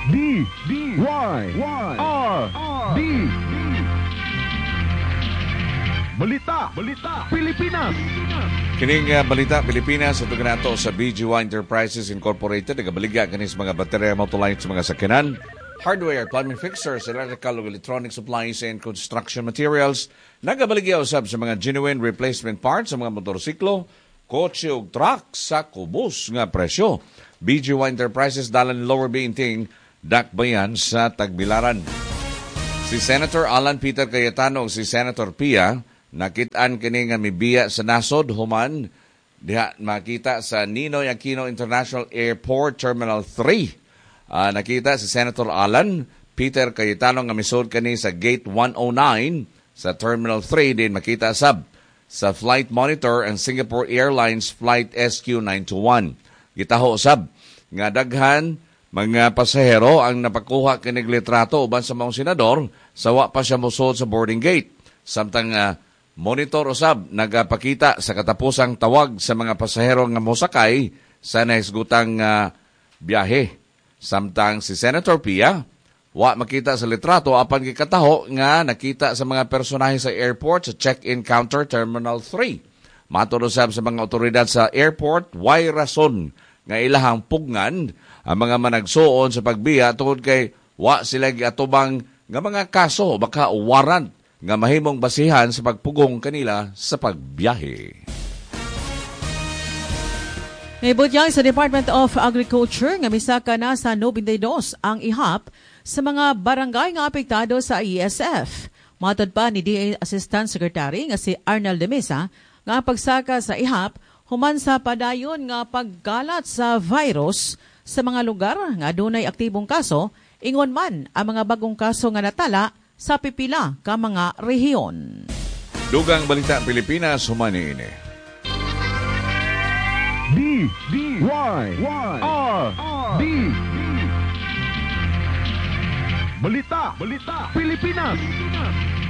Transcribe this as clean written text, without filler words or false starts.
D D Y Y R D. Balita, Balita, Pilipinas. Kining Balita Pilipinas ato kanato sa BGY Enterprises Incorporated, nagabaligya kani sa mga baterya, motolights sa mga sakyanan, hardware, plumbing fixtures, electrical ug electronic supplies and construction materials. Nagabaligya usab sa mga genuine replacement parts sa mga motorsiklo, kotse ug truck sa kubos nga presyo. BGY Enterprises, dalan Lower Bainting, Dakbayan sa Tagbilaran. Si Senator Alan Peter Cayetano ug si Senator Pia nakit-an kini nga mibiya sa nasod human diha makita sa Ninoy Aquino International Airport Terminal 3. Nakita si Senator Alan Peter Cayetano nga misud kani sa Gate 109 sa Terminal 3, din makita sab sa flight monitor ang Singapore Airlines Flight SQ921. Gitaho sab nga daghan mga pasahero ang napakuha kinig litrato uban sa maong senador sa wa pa siya mosud sa boarding gate. Samtang monitor usab nagapakita sa katapusang tawag sa mga pasahero nga mosakay sa nahisgutang biyahe. Samtang si Senator Pia wa makita sa litrato, apan gikataho nga nakita sa mga personahe sa airport sa check-in counter Terminal 3. Matod usab sa mga otoridad sa airport, way rason nga ilahang pugngan ang mga managsuon sa pagbiya tungod kay wa sila giatubang nga mga kaso baka warrant nga mahimong basihan sa pagpugong kanila sa pagbiyahe. Naibutyag sa Department of Agriculture nga misaka na sa 92 ang ihap sa mga barangay nga apektado sa ASF. Matod pa ni DA Assistant Secretary nga si Arnold de Mesa nga ang pagsaka sa ihap human sa padayon nga pagkalat sa virus sa mga lugar nga adunay aktibong kaso, ingon man ang mga bagong kaso nga natala sa pipila ka mga rehiyon. Dugang Balita Pilipinas human niini. D D Y Y R D. Balita, Balita, Pilipinas.